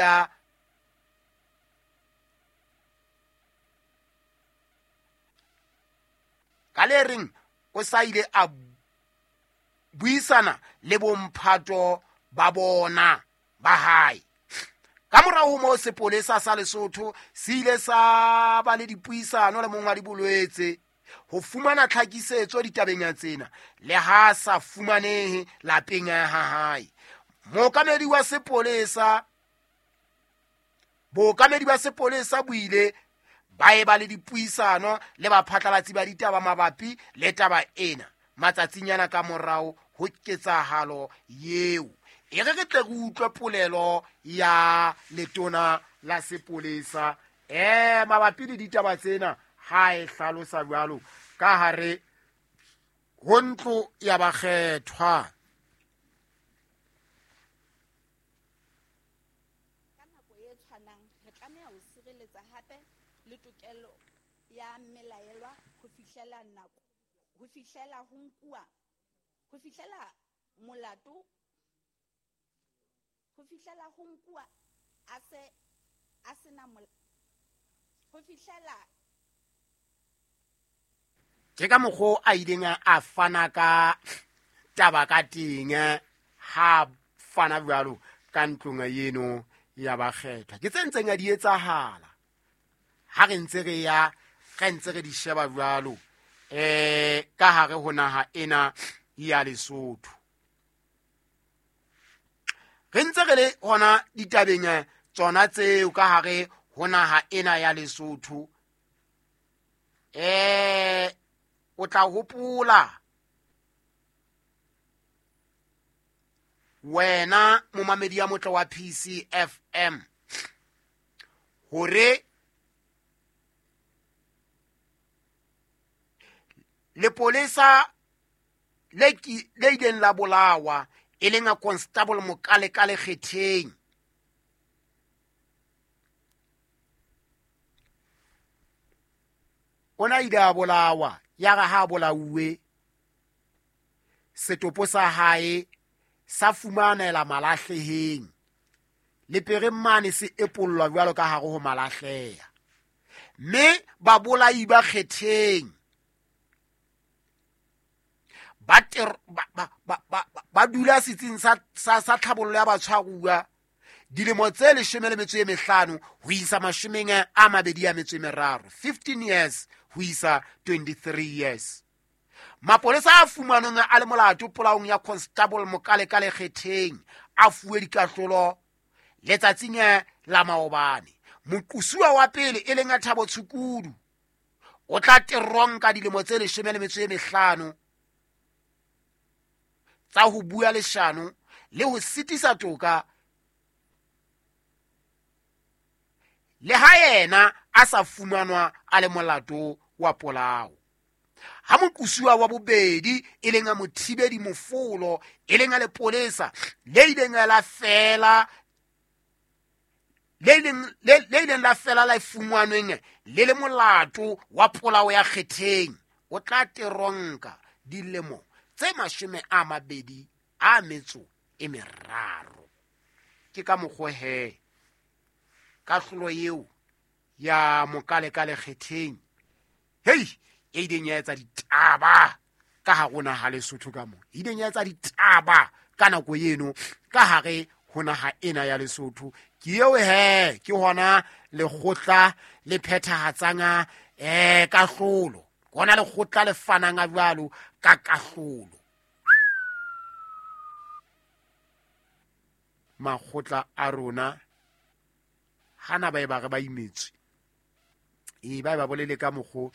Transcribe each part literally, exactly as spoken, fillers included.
a ka le reng o sa ile a buisana le bomphato ba bona ba hae. Ka morao ho moo sepolesa sa Lesotho se ile sa ba le dipuisano le mongwadi Bolwetse ho fumana tlhakisetso ditabeng tsena le ha sa fumanehe lapeng ha hae. Mookamedi wa sepolesa bookamedi ba sepolesa bo ile ba eba le dipuisano le baphatlalatsi ba ditaba mabapi le taba ena matsatsinyana ka morao ho ketsahalo eo. E re re tle re utlwe polelo ya letona la sepolesa eh mabapi le ditaba tsena ha e hlalosa jwalo ka hare ho ntlo ya bakgethwa. Ka nako e tshwanang re tlameha ho sireletsa hape le tokelo ya mmelaelwa ho fihlela nako ho fihlela ho nkuwa ho fihlela molato ho fihlela ho nkuwa a se a sena ho fihlela. Ke ka mokgo a ileng a fana ka taba ka teng ha fana jwalo ka ntlong eno ya bakgethwa. Ke tse ntseng a di etsahala ha re ntse re ya re ntse re di sheba jwalo eh ka hare ho naha ena ya Lesotho. Re ntse re le hona ditabeng tsona tseo ka hare ho naha ena ya Lesotho. Eh o tla hopola wena momamedi ya motle wa P C F M hore lepolesa le le ileng la bolawa e leng a Constable Mokalekale Kgetheng ona ile a bolawa ya re ha bolauwe setopo sa hae sa fumanela malahleheng le peremane se epollwa jwalo ka hare ho malahleha mme babolai ba Kgetheng ba ba ba ba dula setsing sa sa sa tlhabollo ya batshwaruwa dilemo tse leshome le metso e mehlano ho isa mashomeng a mabedi a metso e meraro, fifteen years ho isa twenty-three years. Mapolesa a fumanweng a le molato polaong ya Constable Mokalekale Kgetheng a fuwe dikahlolo letsatsing la maobane. Moqosuwa wa pele e leng a Thabo Tshukudu o tla teronka dilemo tse leshome le metso e mehlano tsa ho bua leshano le ho sitisa toka le ha yena a sa fumanwa a le molato wa polao. Ha moqosuwa wa bobedi e leng a Mothibedi Mofolo e leng a lepolesa le ileng la fela le ileng le ileng la fela la fumanweng le le molato wa polao ya Kgetheng o tla teronka dilemo tse mashome a mabedi a metso e meraro. Ke ka mokgwa he kahlolo eo ya Mokalekale Kgetheng hei e ileng ya etsa ditaba ka hare ho naha Lesotho ka mo e ileng ya etsa ditaba ka nako eno ka hare ho naha ena ya Lesotho. Ke eo he ke hona lekgotla le phethahatsang eh kahlolo, hona lekgotla le fanang a jwalo ka kahlolo. Makgotla a rona hana ba e ba re ba imetswe e ba ba bolele ka mokgo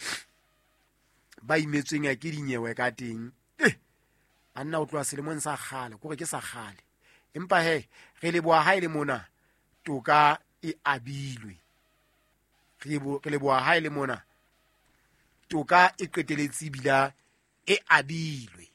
ba imetsweng ya ke dinyewe ka teng eh banna o tloha selemong sa kgale kore ke sa kgale empa he re leboha ha ile mona toka e abilwe, re leboha ha ile mona toka e qeteletse bila e abilwe.